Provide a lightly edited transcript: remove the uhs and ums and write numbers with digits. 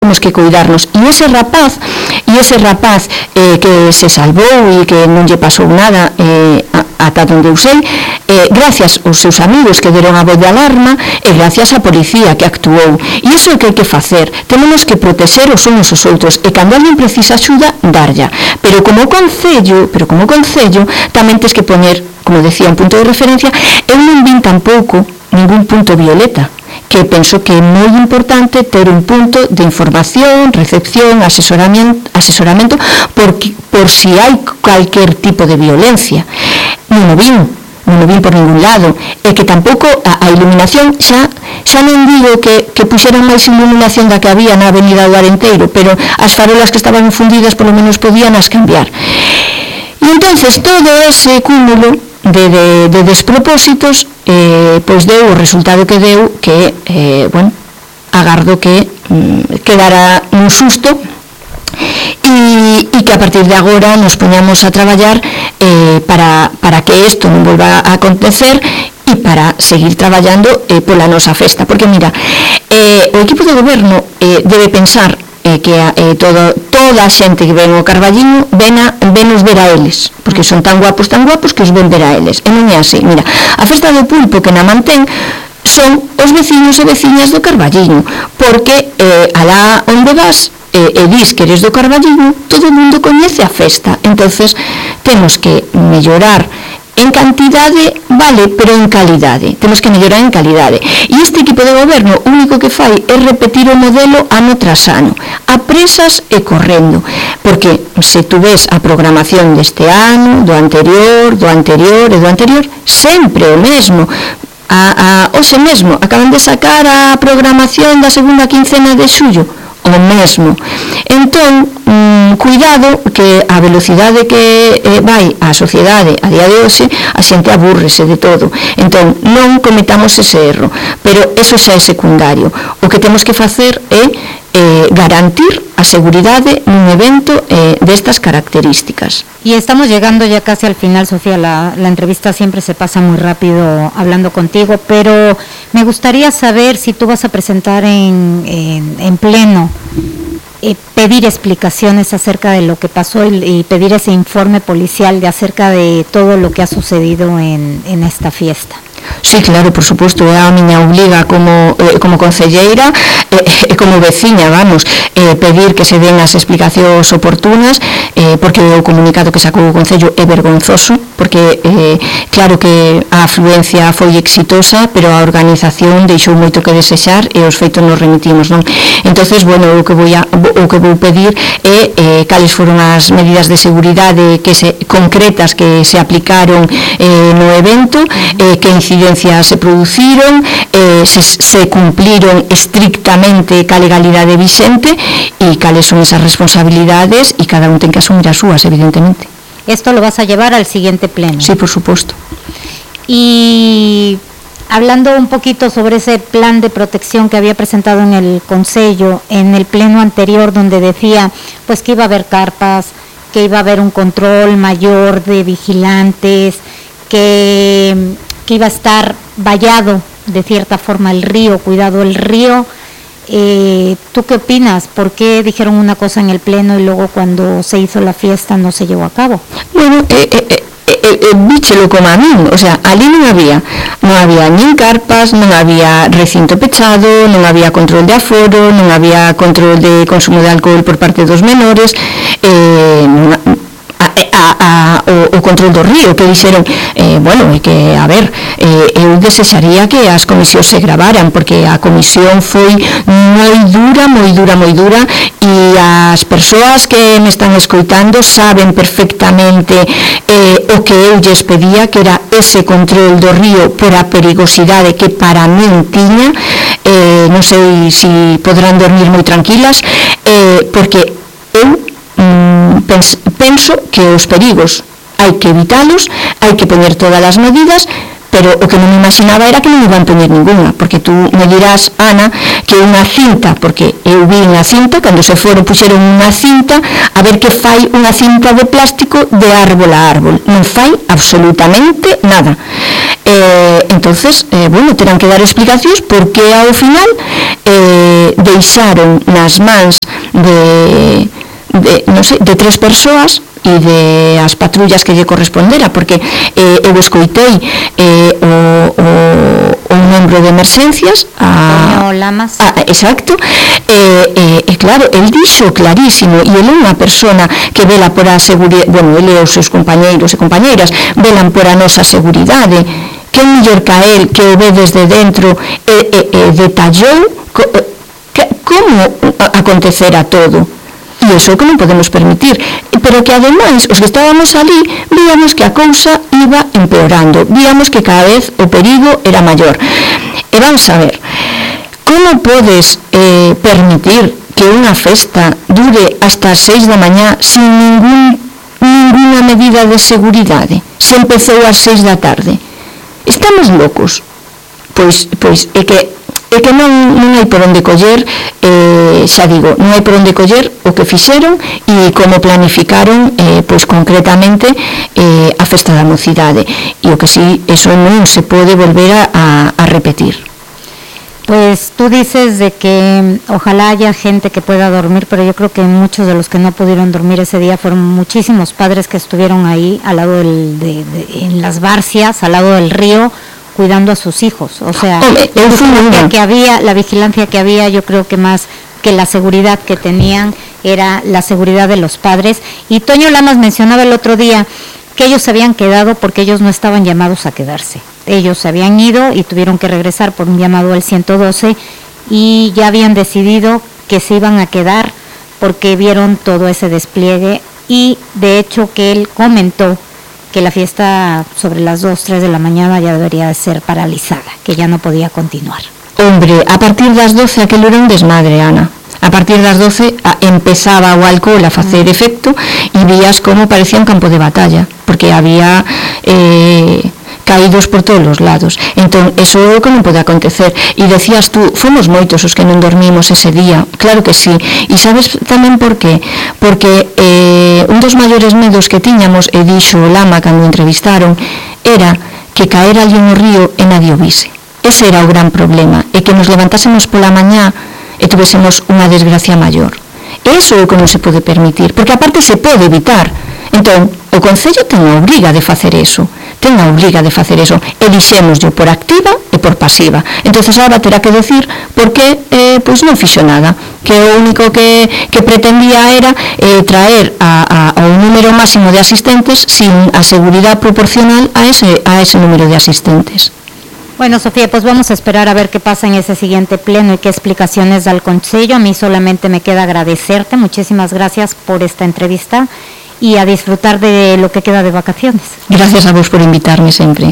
temos que cuidarnos. E ese rapaz que se salvou e que non lle pasou nada ata onde eu sei, gracias aos seus amigos que deron a voz de alarma e gracias á policía que actuou. E iso é o que hai que facer. Temos que protexer os uns aos outros e cando alguén precisa axuda, darlla. Pero como concello tamén tens que poñer, como decía, un punto de referencia. Eu non vin tampouco ningún punto violeta, que penso que é moi importante ter un punto de información, recepción, asesoramento por si hai calquer tipo de violencia. Non o vin por ningún lado, e que tampouco a iluminación, xa non digo que puxeran máis iluminación da que había na avenida do Arenteiro, pero as farolas que estaban fundidas polo menos podían as cambiar. E entonces todo ese cúmulo de despropósitos pois deu o resultado que deu, que agardo que quedara un susto e que a partir de agora nos poñamos a traballar para que isto non volva a acontecer e para seguir traballando pola nosa festa, porque mira, o equipo de goberno debe pensar que toda a xente que ven o Carballiño venos ver a eles, porque son tan guapos que os ven ver a eles, e non é así. Mira, a festa do pulpo que na mantén son os veciños e veciñas do Carballiño, porque alá onde vas e dis que eres do Carballiño, todo o mundo coñece a festa. Entonces temos que mellorar en cantidade, vale, pero en calidade. Temos que mellorar en calidade. E este equipo de goberno o único que fai é repetir o modelo ano tras ano, a presas e correndo, porque se tú ves a programación deste ano, do anterior e do anterior, sempre o mesmo. Hoxe mesmo acaban de sacar a programación da segunda quincena de xullo, o mesmo. Entón, cuidado que a velocidade que vai a sociedade a día de hoxe, a xente abúrrese de todo. Entón, non cometamos ese erro, pero eso xa é secundario. O que temos que facer é garantir a seguridade nun evento destas características. Y estamos llegando ya casi al final, Sofía. La entrevista siempre se pasa muy rápido hablando contigo, pero me gustaría saber si tú vas a presentar en pleno, pedir explicaciones acerca de lo que pasó y pedir ese informe policial acerca de todo lo que ha sucedido en esta fiesta. Sí, claro, por suposto, é a miña obliga como concelleira e como veciña, pedir que se den as explicacións oportunas, porque o comunicado que sacou o Concello é vergonzoso, porque claro que a afluencia foi exitosa, pero a organización deixou moito que desexar e os feitos nos remitimos, non? Entonces, bueno, o que vou pedir é cales foron as medidas de seguridade concretas que se aplicaron no evento, que incidencias se produciron, se cumpliron estrictamente ca legalidade vixente e cales son esas responsabilidades, e cada un ten que asumir as súas, evidentemente. Esto lo vas a llevar al siguiente pleno. Sí, por supuesto. Y hablando un poquito sobre ese plan de protección que había presentado en el Concello, en el pleno anterior, donde decía pues que iba a haber carpas, que iba a haber un control mayor de vigilantes, que iba a estar vallado de cierta forma el río, cuidado el río. ¿Tú qué opinas? ¿Por qué dijeron una cosa en el pleno y luego cuando se hizo la fiesta no se llevó a cabo? Bueno, víchelo como a min, o sea, ali non había nin carpas, non había recinto pechado, non había control de aforo, non había control de consumo de alcohol por parte dos menores, o control do río, que dixeron, bueno, é que, a ver, eu desexaría que as comisións se gravaran, porque a comisión foi moi dura, e as persoas que me están escoitando saben perfectamente o que eu lles pedía, que era ese control do río por a perigosidade que para min tiña. Non sei se podrán dormir moi tranquilas, porque eu penso que os perigos hai que evitalos, hai que poñer todas as medidas, pero o que non me imaginaba era que non iban poñer ninguna, porque tú me dirás, Ana, que unha cinta, porque eu vi unha cinta, cando se foron puxeron unha cinta, a ver que fai unha cinta de plástico de árbol a árbol, non fai absolutamente nada. Entonces, bueno, terán que dar explicacións porque ao final deixaron nas mans de 3 persoas e de as patrullas que lle correspondera, porque eu escoitei o membro de emerxencias Antonio Lamas. Exacto, e claro, el dixo clarísimo, e ele é unha persona que vela por a seguridade, bueno, ele e os seus compañeiros e compañeiras velan por a nosa seguridade, que é mellor que a él, que o ve desde dentro detallou como acontecera todo. E iso é o que non podemos permitir, pero que ademais os que estábamos ali víamos que a cousa iba empeorando, víamos que cada vez o perigo era maior. E vamos a ver, como podes permitir que unha festa dure hasta as 6 da mañá sin ninguna medida de seguridade? Se empezou ás 6 da tarde. Estamos locos? Pois é que non hai por onde coller, xa digo, non hai por onde coller o que fixeron e como planificaron pois concretamente a festa da mocidade, e o que si, eso non se pode volver a repetir. Pues tú dices de que ojalá haya gente que pueda dormir, pero yo creo que muchos de los que no pudieron dormir ese día fueron muchísimos padres que estuvieron ahí al lado en las barcias, al lado del río, cuidando a sus hijos. O sea, la vigilancia que había, yo creo que más que la seguridad que tenían era la seguridad de los padres. Y Toño Lamas mencionaba el otro día que ellos se habían quedado porque ellos no estaban llamados a quedarse. Ellos se habían ido y tuvieron que regresar por un llamado al 112 y ya habían decidido que se iban a quedar porque vieron todo ese despliegue, y de hecho que él comentó que la fiesta sobre las 2, 3 de la mañana ya debería de ser paralizada, que ya no podía continuar. Hombre, a partir das 12 aquilo era un desmadre, Ana. A partir das 12 empezaba o alcohol a facer efecto e vías como parecía un campo de batalla, porque había caídos por todos os lados. Entón, eso é o que non pode acontecer. E decías tú, fomos moitos os que non dormimos ese día. Claro que sí. E sabes tamén por qué? Porque un dos maiores medos que tiñamos, e dixo o Lama cando o entrevistaron, era que caera ali no río e nadie o vise. Ese era o gran problema, e que nos levantásemos pola mañá e tuvésemos unha desgracia maior. Eso é o que non se pode permitir, porque aparte se pode evitar. Entón, o Concello ten a obriga de facer eso, e dixémoslle por activa e por pasiva. Entonces agora terá que decir por que pois non fixo nada, que o único que pretendía era traer ao número máximo de asistentes sin a seguridade proporcional a ese número de asistentes. Bueno, Sofía, pues vamos a esperar a ver qué pasa en ese siguiente pleno y qué explicaciones da el Concello. A mí solamente me queda agradecerte, muchísimas gracias por esta entrevista y a disfrutar de lo que queda de vacaciones. Gracias a vos por invitarme sempre.